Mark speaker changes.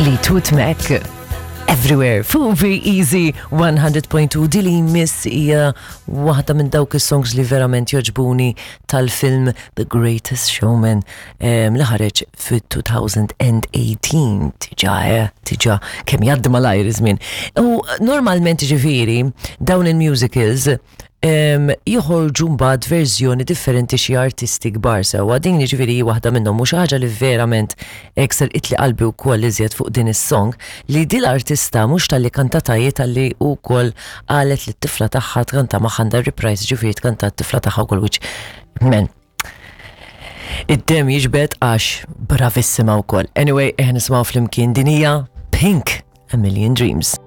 Speaker 1: Fleetwood Mac. Everywhere, fuq Easy 100.2 dili miss hija waħda minn dawk is-songs li verament joġbuni tal-film The Greatest Showman li ħareġ fit-2018 tiġa eh, tiġa kemm jgħaddi malajr iż-żmien. U normalment ġifieri dawn il-musicals joħorġu mbagħad verżjoni differenti xi artisti kbar sewwa. Din jiġifieri hi waħda minnhom u xi ħaġa li verament hekk serqitli qalbi wkoll iżjed fuq din is-song li din l-artista mhux talli kantata hi talli wkoll qalet li t-tifla tagħha tkanta magħha għandha reprise ġifieri tkanta t-tifla tagħha wkoll which man id-dem jiġbed għax bravissima wkoll. Anyway, eħ nisimgħu flimkien din hija Pink A Million Dreams.